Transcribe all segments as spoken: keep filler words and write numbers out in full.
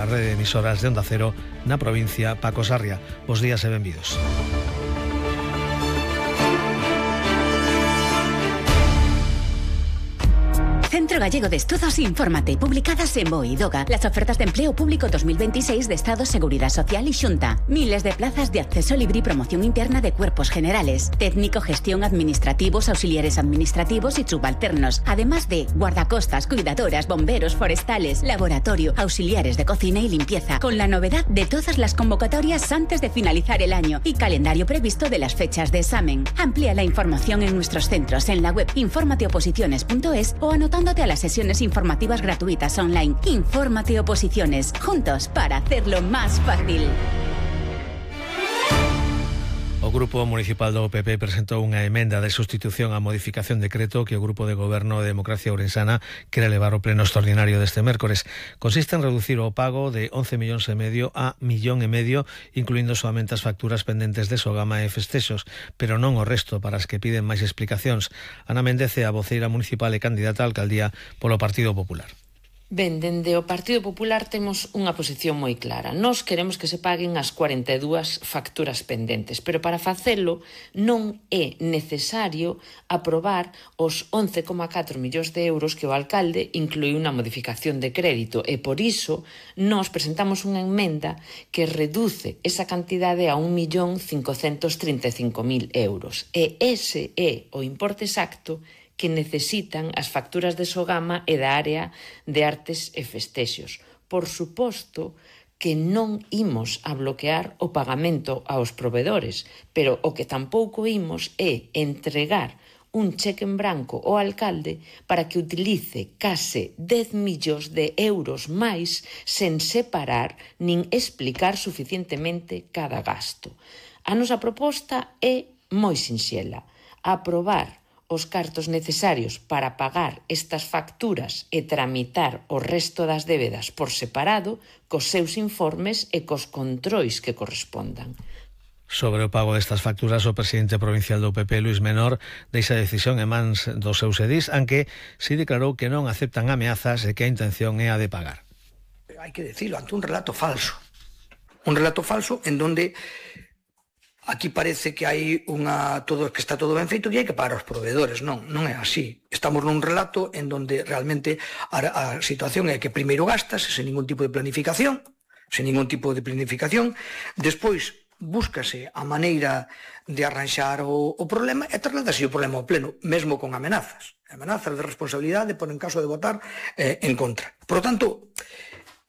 A rede de emisoras de Onda Cero na provincia Paco Sarria. Bos días e benvidos. Centro Gallego de Estudos Infórmate, publicadas en BOE y DOGA, las ofertas de empleo público dos mil veintiséis de Estado, Seguridad Social y Xunta. Miles de plazas de acceso libre y promoción interna de cuerpos generales, técnico, gestión, administrativos, auxiliares administrativos y subalternos, además de guardacostas, cuidadoras, bomberos, forestales, laboratorio, auxiliares de cocina y limpieza, con la novedad de todas las convocatorias antes de finalizar el año y calendario previsto de las fechas de examen. Amplía la información en nuestros centros en la web informateoposiciones punto es o anotando a las sesiones informativas gratuitas online. Infórmate Oposiciones, juntos para hacerlo más fácil. O Grupo Municipal do P P presentou unha emenda de sustitución á modificación de decreto que o Grupo de Goberno de Democracia Ourensana quere levar ao pleno extraordinario deste mércores. Consiste en reducir o pago de once millóns e medio a millón e medio, incluindo solamente as facturas pendentes de Sogama e festexos, pero non o resto para as que piden máis explicacións. Ana Méndez é a voceira municipal e candidata á alcaldía polo Partido Popular. Ben, dende o Partido Popular temos unha posición moi clara. Nós queremos que se paguen as cuarenta e dúas facturas pendentes, pero para facelo non é necesario aprobar os once coma catro millóns de euros que o alcalde incluiu na modificación de crédito e por iso nós presentamos unha emenda que reduce esa cantidade a un millón cincocentos trinta e cinco mil euros. E ese é o importe exacto que necesitan as facturas de Sogama e da área de artes e festexos. Por suposto que non imos a bloquear o pagamento aos provedores, pero o que tampouco imos é entregar un cheque en branco ao alcalde para que utilice case dez millóns de euros máis sen separar nin explicar suficientemente cada gasto. A nosa proposta é moi sinxela: aprobar os cartos necesarios para pagar estas facturas e tramitar o resto das débedas por separado cos seus informes e cos controis que correspondan. Sobre o pago destas facturas, o presidente provincial do P P, Luís Menor, deixa a decisión en mans dos seus edís, aunque si declarou que non aceptan ameazas e que a intención é a de pagar. Hai que decirlo, ante un relato falso. Un relato falso en donde aquí parece que hai unha todo que está todo ben feito e hai que pagar aos proveedores. Non, non é así. Estamos nun relato en donde realmente a, a situación é que primeiro gastas sen ningún tipo de planificación, sen ningún tipo de planificación, despois búscase a maneira de arranxar o, o problema e trasladase o problema ao pleno, mesmo con amenazas. Amenazas de responsabilidade por en caso de votar eh, en contra. Por lo tanto,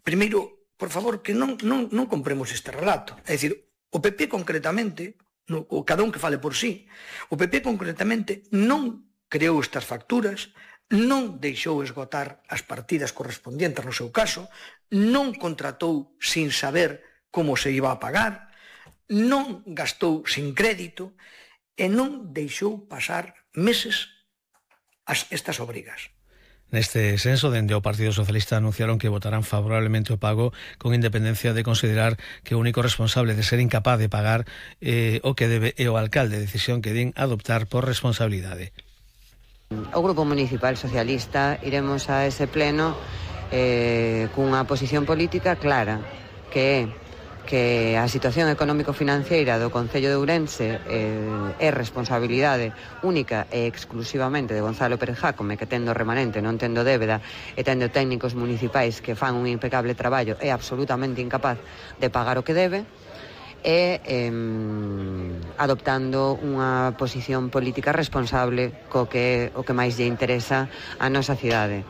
primeiro, por favor, que non, non, non compremos este relato. É dicir, o P P concretamente, no, o cada un que fale por sí, o P P concretamente non creou estas facturas, non deixou esgotar as partidas correspondientes no seu caso, non contratou sin saber como se iba a pagar, non gastou sin crédito e non deixou pasar meses as, estas obrigas. Neste senso, dende o Partido Socialista anunciaron que votarán favorablemente o pago con independencia de considerar que o único responsable de ser incapaz de pagar eh, o que debe é o alcalde, decisión que din adoptar por responsabilidade. O Grupo Municipal Socialista iremos a ese pleno eh, cunha posición política clara, que é que a situación económico-financiera do Concello de Ourense eh, é responsabilidade única e exclusivamente de Gonzalo Pérez Jácome, que tendo remanente, non tendo débeda e tendo técnicos municipais que fan un impecable traballo, é absolutamente incapaz de pagar o que debe, e eh, adoptando unha posición política responsable co que o que máis lle interesa a nosa cidade.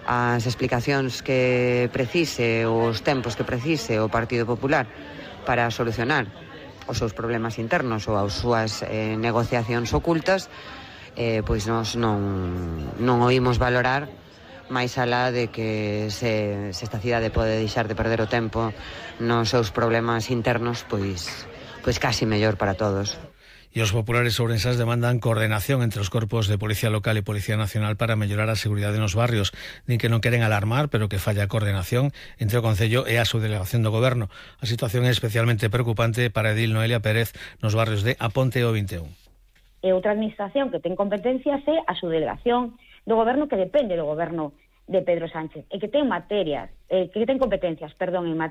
As explicacións que precise, os tempos que precise o Partido Popular para solucionar os seus problemas internos ou as súas eh, negociacións ocultas, eh, pois nós non, non oímos valorar máis alá de que se, se esta cidade pode deixar de perder o tempo nos seus problemas internos, pois, pois casi mellor para todos. E os populares ourensás demandan coordenación entre os corpos de Policía Local e Policía Nacional para mellorar a seguridade nos barrios. Din que non queren alarmar, pero que falla a coordenación entre o Concello e a subdelegación do Goberno. A situación é especialmente preocupante para Edil Noelia Pérez nos barrios de A Ponte e o vinte e un. E outra administración que ten competencias é a subdelegación do Goberno, que depende do Goberno de Pedro Sánchez, e que ten materias, eh, que ten competencias, perdón, en materia